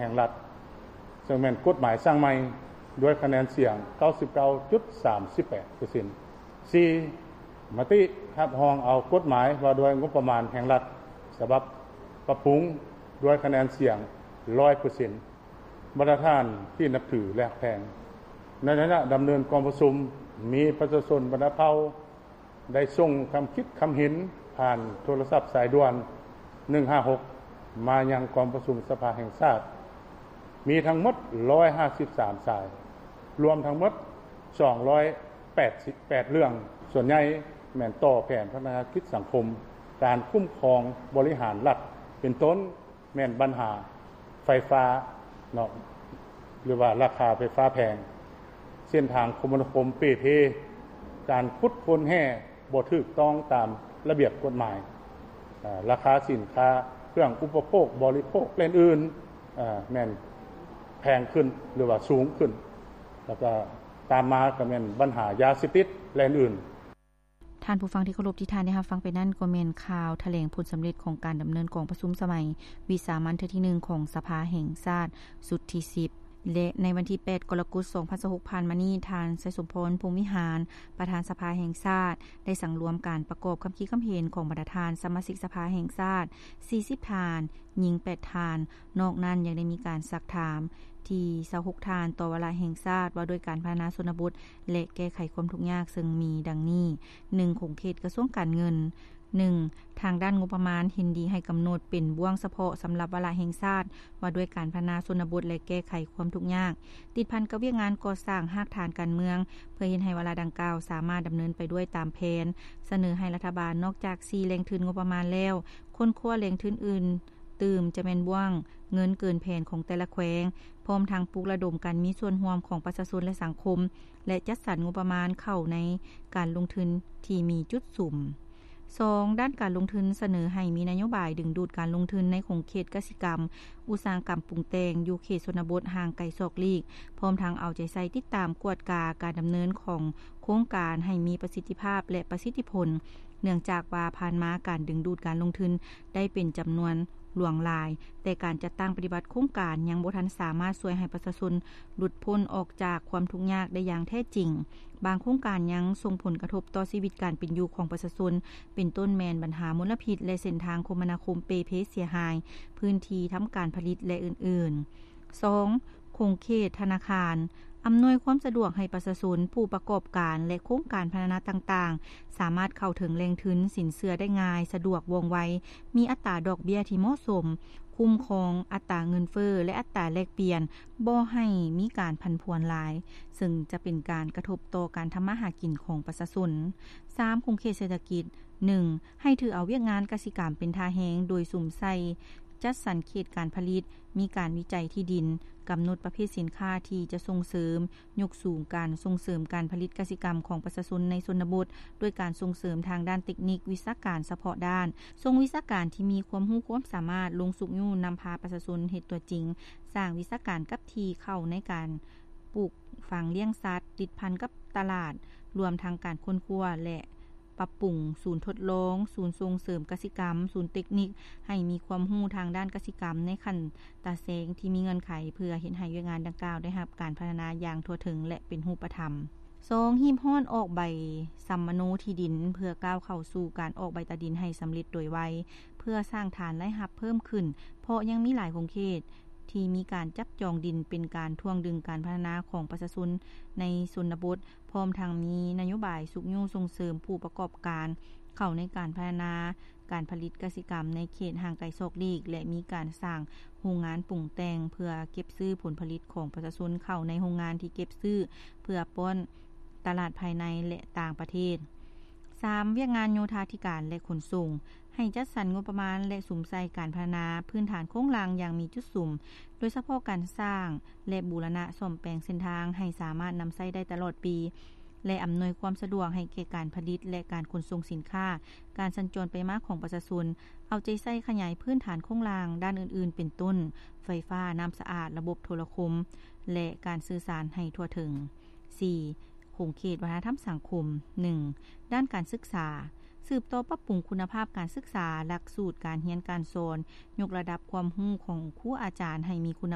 ງລັດ ເຊິ່ງແມ່ນກົດໝາຍສ້າງໃໝ່ ດ້ວຍຄະແນນສຽງ ເກົ້າສິບເກົ້າຈຸດສາມສິບແປດເປີເຊັນ. ສີ່, ມະຕິຮັບຮອງເອົາກົດໝາຍວ່າດ້ວຍງົບປະມານແຫ່ງລັດ ສະບັບປັບປຸງ ດ້ວຍຄະແນນສຽງ ຮ້ອຍເປີເຊັນ. ບັນດາທ່ານທີ່ນັບຖື ແລະ ຮັກແພງ, ໃນໄລຍະດຳເນີນກອງປະຊຸມ ມີປະຊາຊົນບັນດາເຜົ່າ ໄດ້ສົ່ງຄຳຄິດຄຳເຫັນຜ່ານໂທລະສັບສາຍດ່ວນ ໜຶ່ງຫ້າຫົກ ມາຍັງກອງປະຊຸມສະພາແຫ່ງຊາດ ມີທັງໝົດ ຮ້ອຍຫ້າສິບສາມ ສາຍ, ລວມທັງໝົດ ສອງຮ້ອຍແປດສິບແປດ ເລື່ອງ. ສ່ວນໃຫຍ່ແມ່ນຕໍ່ແຜນພັດທະນາກິດສັງຄົມ, ການຄຸ້ມຄອງບໍລິຫານລັດ ເປັນຕົ້ນ ແມ່ນບັນຫາໄຟຟ້າເນາະ ຫຼືວ່າລາຄາໄຟຟ້າແພງ, ເສັ້ນທາງຄົມມະນາຄົມເປ່ເພ, ການຂຸດຄົ້ນແຮ່ບໍ່ຖືກຕ້ອງຕາມລະບຽບກົດໝາຍ, ເອີ່ ລາຄາສິນຄ້າເຄື່ອງອຸປະໂພກບໍລິໂພກ ແລະ ອື່ນໆ ແມ່ນແພງຂຶ້ນ ຫຼືວ່າສູງຂຶ້ນ, ແລ້ວກໍຕາມມາກໍແມ່ນບັນຫາຢາເສບຕິດ ແລະ ອື່ນໆ. ທ່ານຜູ້ຟັງທີ່ເຄົາລົບ, ທີ່ທ່ານໄດ້ຮັບຟັງໄປນັ້ນ ກໍແມ່ນຂ່າວຖະແຫຼງຜົນສຳເລັດຂອງການດຳເນີນກອງປະຊຸມສະໄໝວິສາມັນເທື່ອທີໜຶ່ງຂອງສະພາແຫ່ງຊາດຊຸດທີສິບ ແລະ ໃນວັນທີແປດ ກໍລະກົດ ສອງພັນຊາວຫົກ ຜ່ານມານີ້, ທ່ານ ໄຊສົມພອນ ພົມວິຫານ ປະທານສະພາແຫ່ງຊາດ ໄດ້ສັງລວມການປະກອບຄຳຄິດຄຳເຫັນຂອງບັນດາທ່ານສະມາຊິກສະພາແຫ່ງຊາດ ສີ່ສິບ ທ່ານ, ຍິງ ແປດ ທ່ານ. ນອກນັ້ນຍັງໄດ້ມີການຊັກຖາມທີ ຊາວຫົກ ທ່ານ ຕໍ່ວາລະແຫ່ງຊາດວ່າດ້ວຍການພັດທະນາຊົນນະບົດ ແລະ ແກ້ໄຂຄວາມທຸກຍາກ ເຊິ່ງມີດັ່ງນີ້: ໜຶ່ງ, ຂົງເຂດກະຊວງການເງິນ. ໜຶ່ງ, ທາງດ້ານງົບປະມານເຫັນດີໃຫ້ກຳນົດເປັນບ່ວງສະເພາະສຳລັບວາລະແຫ່ງຊາດວ່າດ້ວຍການພັດທະນາຊົນນະບົດ ແລະ ແກ້ໄຂຄວາມທຸກຍາກ ຕິດພັນກັບວຽກງານກໍ່ສ້າງຮາກຖານການເມືອງ ເພື່ອເຮັດໃຫ້ວາລະດັ່ງກ່າວສາມາດດຳເນີນໄປດ້ວຍຕາມແຜນ. ສະເໜີໃຫ້ລັດຖະບານນອກຈາກສີ່ແຫຼ່ງທຶນງົບປະມານແລ້ວ ຄົ້ນຄວ້າແຫຼ່ງທຶນອື່ນຕື່ມ ຈະແມ່ນບ່ວງເງິນເກີນແຜນຂອງແຕ່ລະແຂວງ, ພ້ອມທັງປຸກລະດົມການມີສ່ວນຮ່ວມຂອງປະຊາຊົນ ແລະ ສັງຄົມ ແລະ ຈັດສັນງົບປະມານເຂົ້າໃນການລົງທຶນທີ່ມີຈຸດສຸມ. ສອງ, ດ້ານການລົງທຶນ ສະເໜີໃຫ້ມີນະໂຍບາຍດຶງດູດການລົງທຶນໃນຂົງເຂດກະສິກຳ, ອຸດສາຫະກຳປຸງແຕ່ງ ຢູ່ເຂດຊົນນະບົດຫ່າງໄກສອກຫຼີກ, ພ້ອມທັງເອົາໃຈໃສ່ຕິດຕາມກວດກາການດຳເນີນຂອງໂຄງການໃຫ້ມີປະສິດທິພາບ ແລະ ປະສິດທິຜົນ. ເນື່ອງຈາກວ່າຜ່ານມາການດຶງດູດການລົງທຶນໄດ້ເປັນຈຳນວນຫຼວງຫຼາຍ, ແຕ່ການຈັດຕັ້ງປະຕິບັດໂຄງການຍັງບໍ່ທັນສາມາດຊ່ວຍໃຫ້ປະຊາຊົນຫຼຸດພົ້ນອອກຈາກຄວາມທຸກຍາກໄດ້ຢ່າງແທ້ຈິງ. ບາງໂຄງການຍັງສົ່ງຜົນກະທົບຕໍ່ຊີວິດການເປັນຢູ່ຂອງປະຊາຊົນ, ເປັນຕົ້ນແມ່ນບັນຫາມົນລະພິດ ແລະ ເສັ້ນທາງຄົມມະນາຄົມເປ່ເພເສຍຫາຍ, ພື້ນທີ່ທຳການຜະລິດ ແລະ ອື່ນໆ. ສອງ, ຂົງເຂດທະນາຄານ ອຳນວຍຄວາມສະດວກໃຫ້ປະຊາຊົນ, ຜູ້ປະກອບການ ແລະ ໂຄງການພັດທະນາຕ່າງໆ ສາມາດເຂົ້າເຖິງແຫຼ່ງທຶນສິນເຊື່ອໄດ້ງ່າຍ, ສະດວກ, ວ່ອງໄວ, ມີອັດຕາດອກເບ້ຍທີ່ເໝາະສົມ, ຄຸ້ມຄອງອັດຕາເງິນເຟີ້ ແລະ ອັດຕາແລກປ່ຽນ, ບໍ່ໃຫ້ມີການຜັນຜວນຫຼາຍ, ເຊິ່ງຈະເປັນການກະທົບຕໍ່ການທຳມາຫາກິນຂອງປະຊາຊົນ. ສາມ, ຂົງເຂດເສດຖະກິດ. ໜຶ່ງ, ໃຫ້ຖືເອົາວຽກງານກະສິກຳເປັນທ່າແຮງ ໂດຍສຸມໃສ່ຈັດສັນເຂດການຜະລິດ, ມີການວິໄຈທີ່ດິນ, ກຳນົດປະເພດສິນຄ້າທີ່ຈະສົ່ງເສີມ, ຍົກສູງການສົ່ງເສີມການຜະລິດກະສິກຳຂອງປະຊາຊົນໃນຊົນນະບົດ ດ້ວຍການສົ່ງເສີມທາງດ້ານເຕັກນິກ, ວິຊາການສະເພາະດ້ານ, ສົ່ງວິຊາການທີ່ມີຄວາມຮູ້ຄວາມສາມາດລົງຊຸກຍູ້ນຳພາປະຊາຊົນເຮັດຕົວຈິງ, ສ້າງວິຊາການກັບທີ່ເຂົ້າໃນການ ປູກຝັງລ້ຽງສັດ ຕິດພັນກັບຕະຫຼາດ, ລວມທັງການຄົ້ນຄວ້າ ແລະ ປັບປຸງສູນທົດລອງ, ສູນສົ່ງເສີມກະສິກຳ, ສູນເຕັກນິກ ໃຫ້ມີຄວາມຮູ້ທາງດ້ານກະສິກຳໃນຂັ້ນຕາແສງທີ່ມີເງື່ອນໄຂ ເພື່ອເຮັດໃຫ້ວຽກງານດັ່ງກ່າວໄດ້ຮັບການພັດທະນາຢ່າງທົ່ວເຖິງ ແລະ ເປັນຮູບປະທຳ. ສອງ, ຮີບຮ້ອນອອກໃບສຳມະໂນທີ່ດິນ ເພື່ອກ້າວເຂົ້າສູ່ການອອກໃບຕາດິນໃຫ້ສຳເລັດໂດຍໄວ ເພື່ອສ້າງຖານລາຍຮັບເພີ່ມຂຶ້ນ, ເພາະຍັງມີຫຼາຍຂົງເຂດ ທີ່ມີການຈັບຈອງດິນເປັນການຖ່ວງດຶງການພັດທະນາຂອງປະຊາຊົນໃນຊົນນະບົດ, ພ້ອມທັງມີນະໂຍບາຍຊຸກຍູ້ສົ່ງເສີມຜູ້ປະກອບການເຂົ້າໃນການພັດທະນາການຜະລິດກະສິກຳໃນເຂດຫ່າງໄກສອກຫຼີກ ແລະ ມີການສ້າງໂຮງງານປຸງແຕ່ງເພື່ອເກັບຊື້ຜົນຜະລິດຂອງປະຊາຊົນເຂົ້າໃນໂຮງງານທີ່ເກັບຊື້ເພື່ອປ້ອນຕະຫຼາດພາຍໃນ ແລະ ຕ່າງປະເທດ. ສາມ, ວຽກງານໂຍທາທິການ ແລະ ຂົນສົ່ງ. ໃຫ້ຈັດສັນງົບປະມານ ແລະ ສຸມໃສ່ການພັດທະນາພື້ນຖານໂຄງລ່າງຢ່າງມີຈຸດສຸມ, ໂດຍສະເພາະການສ້າງ ແລະ ບູລະນະສ້ອມແປງເສັ້ນທາງໃຫ້ສາມາດນຳໃຊ້ໄດ້ຕະຫຼອດປີ ແລະ ອຳນວຍຄວາມສະດວກໃຫ້ແກ່ການຜະລິດ ແລະ ການຂົນສົ່ງສິນຄ້າ, ການສັນຈອນໄປມາຂອງປະຊາຊົນ, ເອົາໃຈໃສ່ຂະຫຍາຍພື້ນຖານໂຄງລ່າງດ້ານອື່ນໆ ເປັນຕົ້ນ ໄຟຟ້າ, ນ້ຳສະອາດ, ລະບົບໂທລະຄົມ ແລະ ການສື່ສານໃຫ້ທົ່ວເຖິງ. ສີ່, ຂົງເຂດວັດທະນະທຳສັງຄົມ. ໜຶ່ງ, ດ້ານການສຶກສາ. ສືບຕໍ່ປັບປຸງຄຸນນະພາບການສຶກສາ, ຫຼັກສູດການຮຽນການສອນ, ຍົກລະດັບຄວາມຮູ້ຂອງຄູອາຈານໃຫ້ມີຄຸນນະ